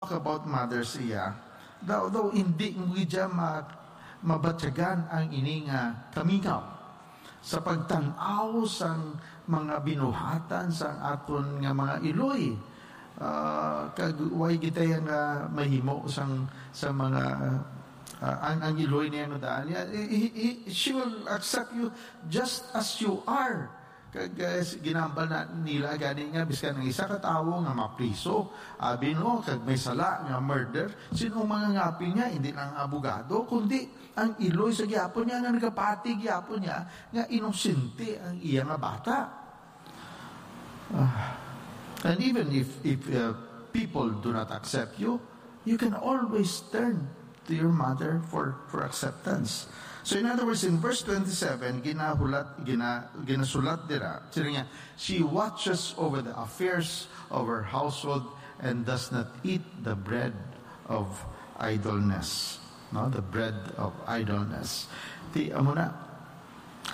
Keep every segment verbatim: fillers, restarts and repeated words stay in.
talk about mothers, iya, daw, daw hindi mo gid siya ma-, mabatyagan ang ini nga kamingaw sa pagtan-aw sang mga binuhatan sang aton nga mga iloy. Ah, kag way kita nga mahimo sang, sa mga, ah, ang, ang iloy niya nga daan niya, he, he, he, she will accept you just as you are. Kag, eh, s-, ginambal na nila gani nga bisan ang isa ka tawo nga mapriso, abi, no, kag may sala nga murder, sin-o mangangapin niya? Hindi lang ang abogado, kundi ang iloy sa gihapon niya nga nagapati gihapon niya nga inosente ang iya nga bata. Ah, and even if, if, uh, people do not accept you, you can always turn to your mother for, for acceptance. So in other words, in verse twenty-seven, ginahulat, gina-, ginasulat dira, sila niya, "She watches over the affairs of her household and does not eat the bread of idleness." No, the bread of idleness. Ti, amo na,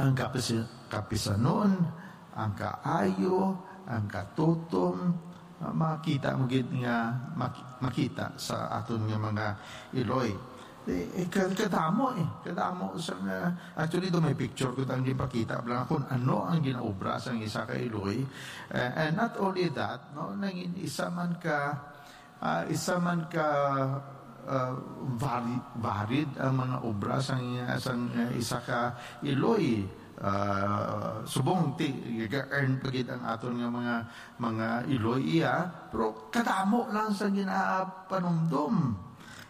ang kapis-, kapisanon, ang kaayo, ang katutom, ah, makita mo gid nga mak-, makita sa aton nga mga iloy. Eh, eh, ka-, kadamo, eh. Kadamo sa nga, actually, do may picture ko tang ginpakita lang kung ano ang ginaobra sang isa ka iloy. Eh, and not only that, no, nangin isa man ka, ah, isa man ka, ah, vari-, varied ang mga obra sang, sang, ah, isa ka iloy. Ah, subong ti, ga-earn pa gid ang aton nga mga, mga iloy iya, pero kadamo lang sa ginapanumdom.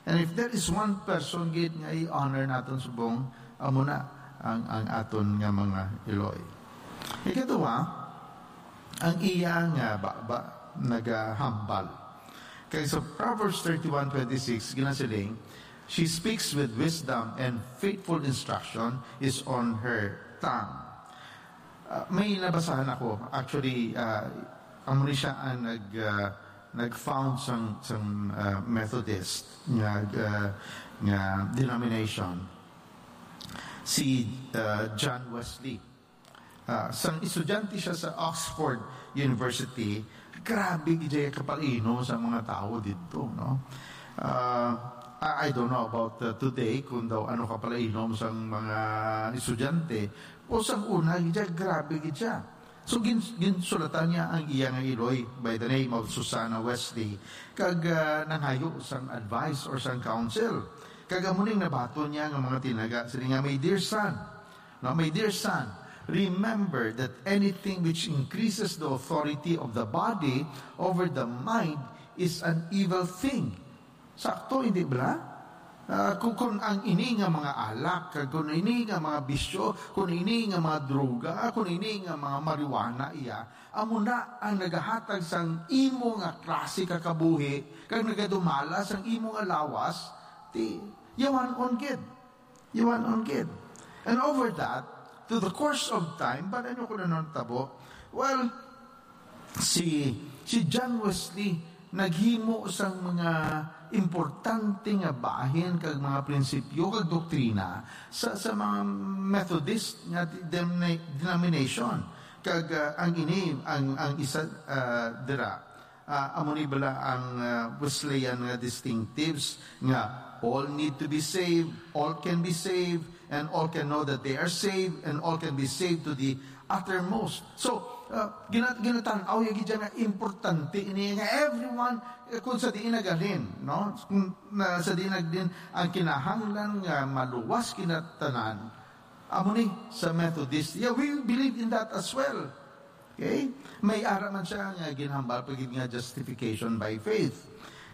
And if there is one person gid nga i-honor naton subong, amo na ang, ang aton nga mga iloy. Ikaduha, ang iya nga baba nagahambal. Kay sa Proverbs thirty-one twenty-six, ginasiling, "She speaks with wisdom, and faithful instruction is on her tongue." Ah, may nabasahan ako. Actually, ah, amo ni siya ang nag, ah, nag-found sang, sang, ah, Methodist nga, ah, nga denomination. Si, ah, John Wesley. Ah, sang estudyante siya sa Oxford University, grabe gid siya kapalainom sa mga tawo didto, no? Ah, I, I don't know about, uh, today, kung daw ano kapalainom sang mga estudyante, o sang una, gid siya, grabe gid siya. So, gin-, ginsulatan niya ang iya nga iloy by the name of Susanna Wesley, kag, ah, nanghayo sang advice or sang counsel. Kag amo ning nabaton niya nga mga tinaga, sini nga, "My dear son, no, my dear son, remember that anything which increases the authority of the body over the mind is an evil thing." Sakto, hindi bala? Ah, kung, kung ang ini nga mga alak, kag kung ini nga mga bisyo, kung ini nga mga droga, kung ini nga mga marijuana, iya, amo na ang nagahatag sang imo nga klase ka kabuhi, kag nagadumala sang imo nga lawas, ti, yawan-on gid. Yawan-on gid. And over that, to the course of time, bala niyo kung ano natabo? Well, si, si John Wesley naghimo sang mga importante nga bahin kag mga prinsipyo kag doktrina sa, sa mga Methodist nga de-, demni-, denomination. Kag, ah, ang ini, ang, ang isa, ah, dira, ah, amo ni bala ang, ah, Wesleyan nga distinctives nga all need to be saved, all can be saved, and all can know that they are saved, and all can be saved to the uttermost. So, ah, gina-, ginatan-aw ya gid nga importante ini nga everyone, eh, kung sa diin naghalin, no? Kung na, sa diin naghalin ang kinahanglan nga maluwas kinatanan, amo ni sa Methodist. Yeah, we believe in that as well. Okay? May ara man siya nga ginhambal pa gid nga justification by faith.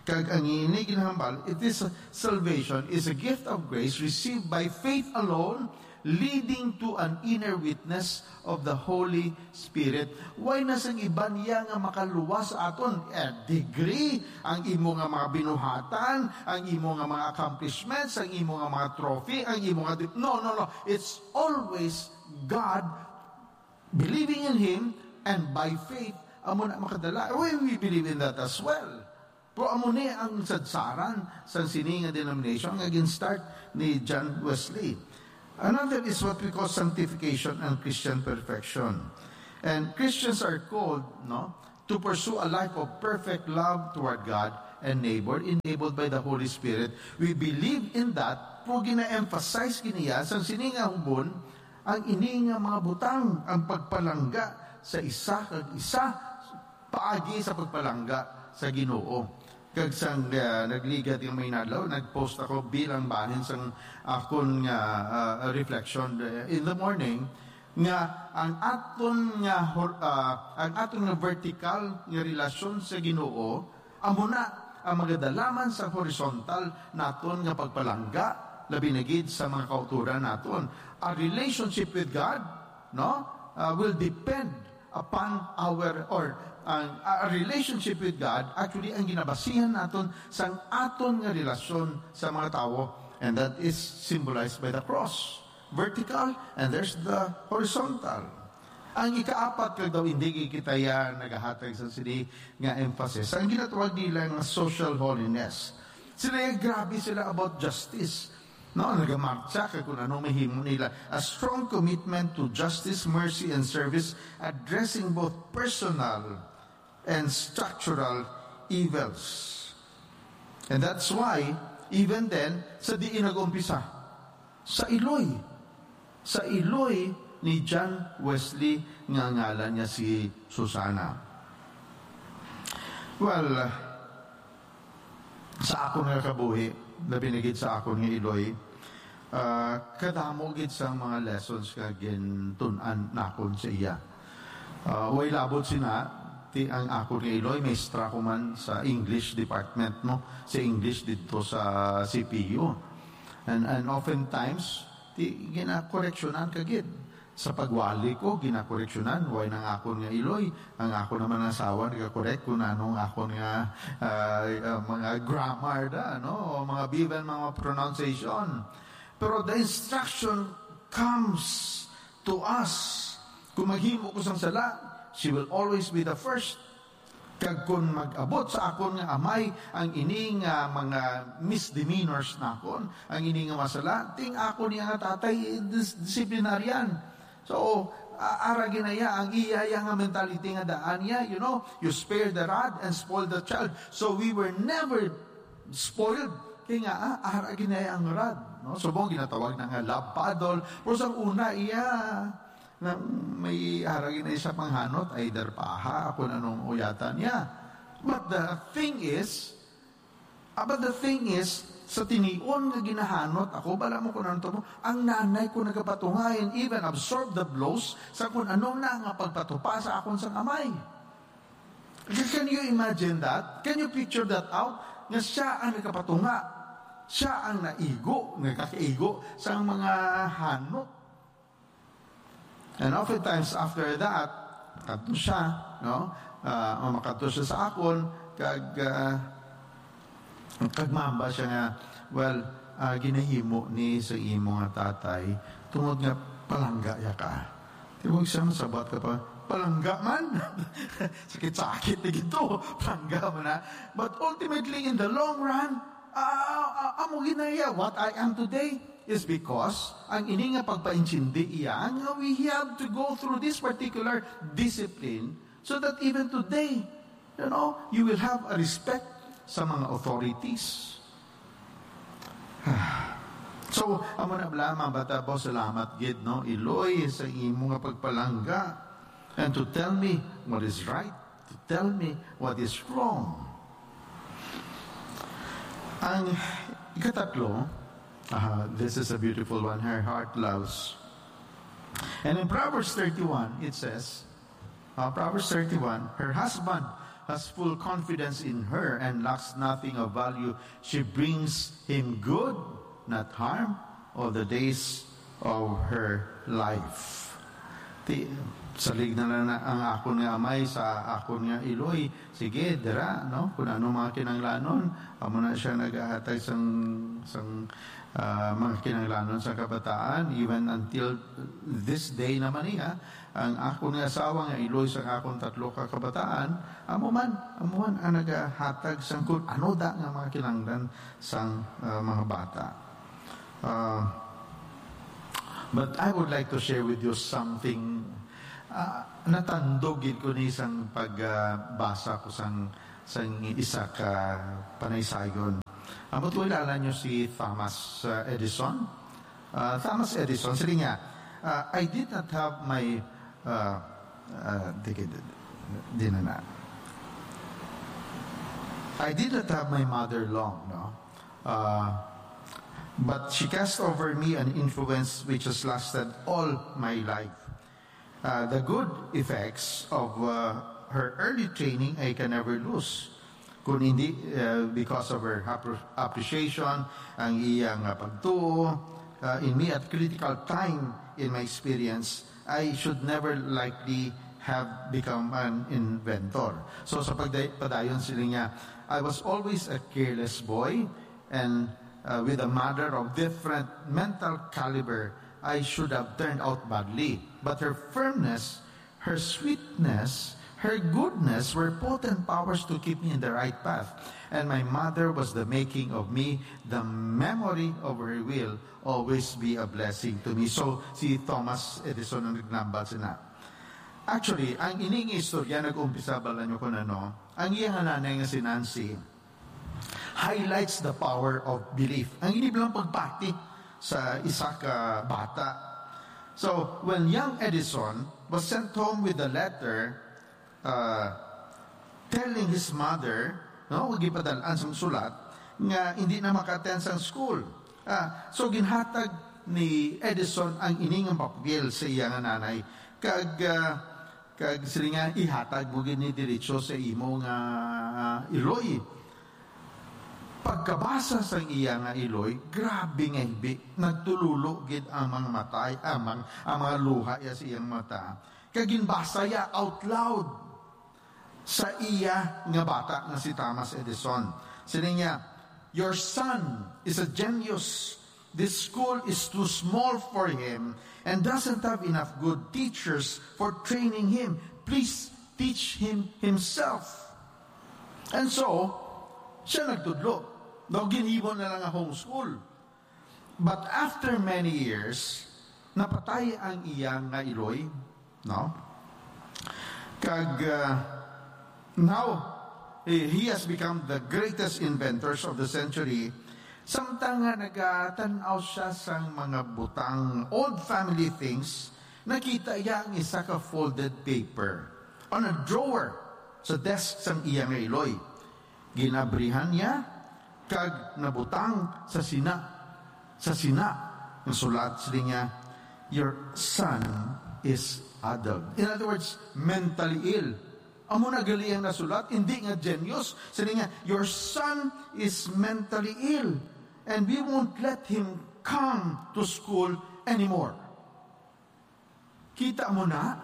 Kag ang ini ginhambal, it is, salvation is a gift of grace received by faith alone, leading to an inner witness of the Holy Spirit. Wala na sang iban iya nga makaluwas sa aton. Eh, degree, ang imo nga mga binuhatan, ang imo nga mga accomplishments, ang imo nga mga trophy, ang imo nga dip-, no, no, no. It's always God, believing in Him, and by faith, amo na makadala. We, we believe in that as well. Pero amo ni ang sadsaran sang sini nga denomination nga gin-start ni John Wesley. Another is what we call sanctification and Christian perfection. And Christians are called, no, to pursue a life of perfect love toward God and neighbor enabled by the Holy Spirit. We believe in that, pero gina-emphasize gid niya sang sini nga hubon, ang ini nga mga butang, ang pagpalangga sa isa kag isa, paagi sa pagpalangga sa Ginoo. Kag sang, ah, nagligad nga mga inadlaw, nag-post ako bilang bahin sang akon nga, ah, reflection, eh, in the morning, nga ang aton nga hor-, ah, ang aton nga vertical nga relasyon sa Ginoo amo na ang magadala man sa horizontal naton nga pagpalangga, labi na gid sa mga kauturan naton. Our relationship with God, no, ah, will depend upon our, or ang, our relationship with God, actually, ang ginabasihan naton sang aton nga relasyon sa mga tawo, and that is symbolized by the cross. Vertical, and there's the horizontal. Ang ikaapat, kag daw hindi kita ya nagahatag sa sini nga emphasis, ang ginatawag nila nga social holiness. Sila, grabe sila about justice. No, nagamartsa kag kung ano mahimo nila. A strong commitment to justice, mercy, and service, addressing both personal and structural evils. And that's why, even then, sa diin nag-umpisa? Sa iloy. Sa iloy ni John Wesley nga ngalan niya si Susana. Well, sa akon nga kabuhi, labi na gid sa akon nga iloy, ah, kadamo gid sang mga lessons nga gintun-an nakon sa iya. Ah, way labot sina, ti ang akon nga iloy, maestra ko man sa English department, no? Sa English didto sa C P U. And, and oftentimes, ti ginakoreksyonan ka gid. Sa pagwali ko, ginakoreksyonan, way nang akon nga iloy. Ang akon naman nga asawa nagakorek kung ano ang akon nga, ah, ah, mga grammar da, no? O mga, even mga pronunciation. Pero the instruction comes to us. Kung maghimo ko sang sala, she will always be the first. Kag kung mag-abot sa akon nga amay ang ini nga mga misdemeanors nakon, ang ini nga masala, ting ako niya nga tatay, dis-, disciplinarian. So, a-, ara ginaya ang iya, iya nga mentality nga daan niya, you know, you spare the rod and spoil the child. So, we were never spoiled. Kay nga, ah, ara ginaya ang rod, no? Subong ginatawag na nga love paddle. Pero sa una, iya, na may ara ginaya sa panghanot, either paha, kung anong uyatan niya. But the thing is, ah, but the thing is, sa tinion nga ginahanot ako, bala mo kung ano to mo, ang nanay ko nagapatunga and even absorb the blows sa kung ano na nga pagpatupa sa akon sang amay. Can you imagine that? Can you picture that out? Nga siya ang nagapatunga. Siya ang naigo, nagakaigo sa mga hanot. And oftentimes after that, kadto siya, no? Ah, o makadto siya sa akon, kag, ah, kag mamba siya nga, "Well, ah, ginahimo ni sa imo nga tatay, tungod nga palangga ya ka." Tibog siya, masabat ka pa, "Palangga man?" Sakit-sakit na gito, palangga man na. But ultimately, in the long run, ah, ah, amo ginaya, what I am today is because ang ini nga pagpaintindi iya nga we have to go through this particular discipline so that even today, you know, you will have a respect sa mga authorities. So, amo na bala, mga bata, ba, salamat gid, no, Iloy, sa imo nga pagpalangga and to tell me what is right, to tell me what is wrong. Ang ikatatlo, ah, this is a beautiful one, her heart loves. And in Proverbs thirty-one, it says, uh, Proverbs thirty-one, "Her husband has full confidence in her and lacks nothing of value. She brings him good, not harm, all the days of her life." Ti, salig na lang na ang akon nga amay sa akon nga iloy. Sige, dira, no? Kung ano mga kinahanglanon, amo na siya nagahatag sang, sang, ah, mga kinahanglanon sa kabataan, even until this day naman niya, ang akon nga asawa nga iloy sa akon tatlo ka kabataan, amo man, amo man ang nagahatag sang kung ano da nga mga kinahanglan sang, ah, mga bata. Ah, but I would like to share with you something, ah, natandog gid ko ni sang pagbasa ko sang, Sang isa ka panaysayon. Ambot ko, kilala nyo si Thomas, uh, Edison? Uh, Thomas Edison, sila niya, uh, "I did not have my, uh, uh, di, di, di na na. I did not have my mother long, no? Uh, but she cast over me an influence which has lasted all my life. Uh, the good effects of, uh, her early training I can never lose. Kung hindi, uh, because of her appre-, appreciation, ang iyang, uh, pagtuo, uh, in me at critical time in my experience, I should never likely have become an inventor." So, sa pagday-, padayon sila niya, "I was always a careless boy, and, uh, with a mother of different mental caliber, I should have turned out badly. But her firmness, her sweetness, her goodness were potent powers to keep me in the right path. And my mother was the making of me. The memory of her will always be a blessing to me." So, si Thomas Edison ang nagnambal sina. Actually, ang ining istorya nag-umpisa, bala nyo kung ano, ang iyang nanay nga si Nancy, highlights the power of belief. Ang ini bilang pagpati sa isa ka bata. So, when young Edison was sent home with a letter, uh, telling his mother, no, gipadal-an sang sulat, nga hindi na maka-attend sang school. Ah, so, ginhatag ni Edison ang ining nga papel sa iya nga nanay. Kag, ah, kag sila nga, "Ihatag mo gid ni diretso sa imo nga, ah, iloy." Pagkabasa sang iya nga iloy, grabe nga hibi, nagtululo gid ang mga mata, ang mga, ang mga luha iya sa iyang mata. Kag ginbasa iya out loud sa iya nga bata nga si Thomas Edison. Sila niya, "Your son is a genius. This school is too small for him and doesn't have enough good teachers for training him. Please teach him himself." And so, siya nagtudlo. Daw ginhimo na lang ang homeschool. But after many years, napatay ang iya nga iloy, no? Kag, uh, now, eh, he has become the greatest inventors of the century. Samtang nga nagatan-aw siya sang mga butang, old family things, nakita iya ang isa ka folded paper on a drawer sa desk sang iya nga iloy. Ginabrihan niya kag nabutang sa sina, sa sina nga sulat, sila niya, "Your son is addled." In other words, mentally ill. Amo na gali ang nasulat, hindi nga genius. Sila niya, "Your son is mentally ill, and we won't let him come to school anymore." Kita mo na?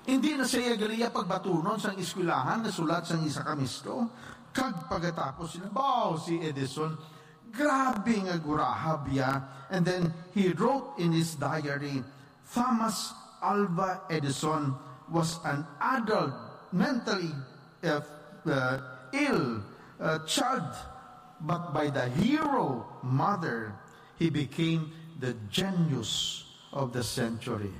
Hindi na siya gali iya pagbatunon sang eskwelahan nga sulat sang isa ka mistro. Kag pagkatapos sila, baw, si Edison, grabe nga gurahab iya. And then he wrote in his diary, "Thomas Alva Edison was an adult, mentally, uh, uh, ill, uh, child, but by the hero mother, he became the genius of the century."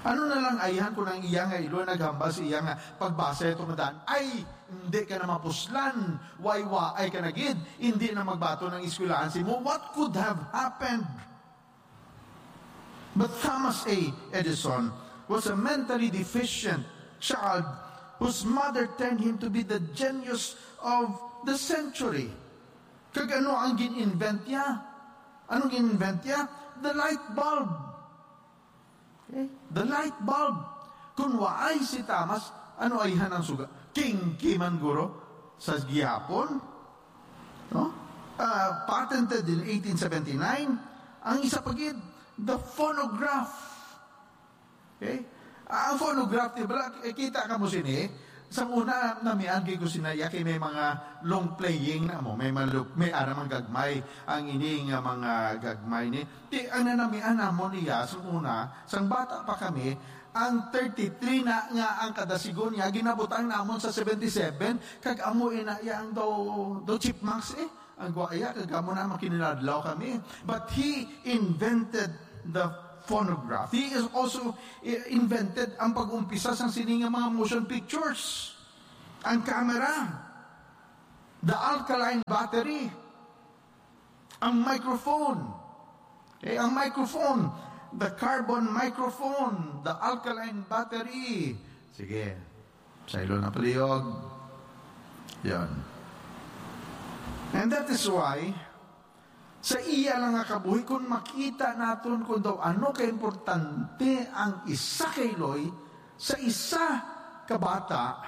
Ano na lang ayhan kung ang iya nga iloy naghambal sa iya nga pagbasa ito nga daan, "Ay, hindi ka na mapuslan, waywaay ka na gid, hindi na magbaton ang eskwelahan sa imo." What could have happened? But Thomas A. Edison was a mentally deficient child whose mother turned him to be the genius of the century. Kag ano ang gin-invent niya? Anong gin-invent niya? The light bulb. Okay? The light bulb. Kung waay si Thomas, ano ayhan ang suga? Kingkiman guro sa gihapon. No? Ah, patented in eighteen seventy-nine. Ang isa pa gid, the phonograph. Okay? Ah, ang phonograph, di ba, eh, kita ka mo sini, sa una, namian kay ko sinaya kay may mga long playing na mo, may mga lu-, may ara man gagmay, ang ini nga mga gagmay ni. Di, ang nanamian namon niya, sa una, sang bata pa kami, ang thirty-three na nga ang kada sigon niya, ginabutang namon sa seventy-seven, kag amo ina iya ang daw, daw chipmunks eh. Ang gwaya, kag amo na makininadlaw kami. But he invented the phonograph. He is also i-, invented ang pag-umpisa sang sini nga mga motion pictures. Ang camera, the alkaline battery, ang microphone. Okay, ang microphone, the carbon microphone, the alkaline battery. Sige, saylo na palihog. Yan. And that is why, sa iya lang nga kabuhi, kung makita naton kung daw ano kaimportante ang isa ka iloy sa isa ka bata,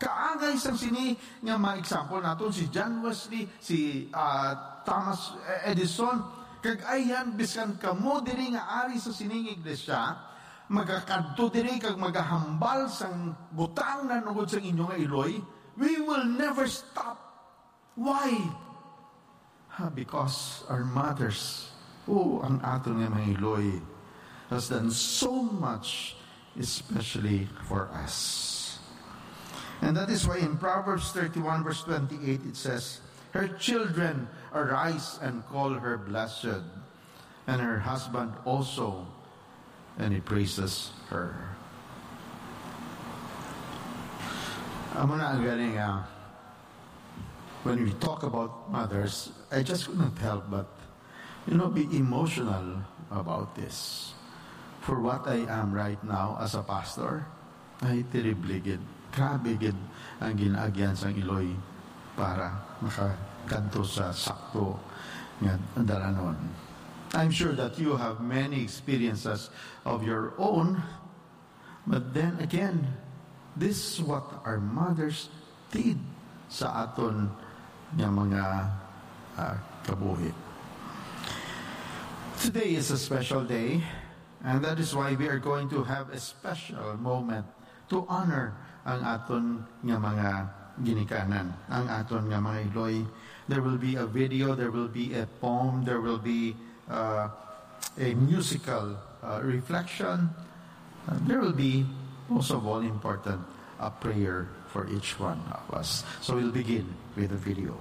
kaangay sang sini nga mga example naton, si John Wesley, si, ah, Thomas Edison, kag ayan, biskan kamo diri nga ari sa sining iglesia, magakadto diri kag magahambal sang butang nanugod sang inyo nga iloy, we will never stop. Why? Ah, because our mothers, oh, ang aton nga mga iloy, has done so much, especially for us. And that is why in Proverbs thirty-one verse twenty-eight it says, "Her children arise and call her blessed, and her husband also, and he praises her." Amo na ang galing, ah, when we talk about mothers, I just couldn't help but, you know, be emotional about this. For what I am right now as a pastor, ay, terrible gid. Grabe gid ang ginaagyan sang iloy para makakadto sa sakto nga dalanon. I'm sure that you have many experiences of your own, but then again, this is what our mothers did sa aton nga mga, ah, kabuhi. Today is a special day, and that is why we are going to have a special moment to honor ang aton nga mga ginikanan, ang aton nga mga iloy. There will be a video, there will be a poem, there will be, uh, a musical, uh, reflection. Uh, there will be, most of all important, a prayer for each one of us. So we'll begin with a video.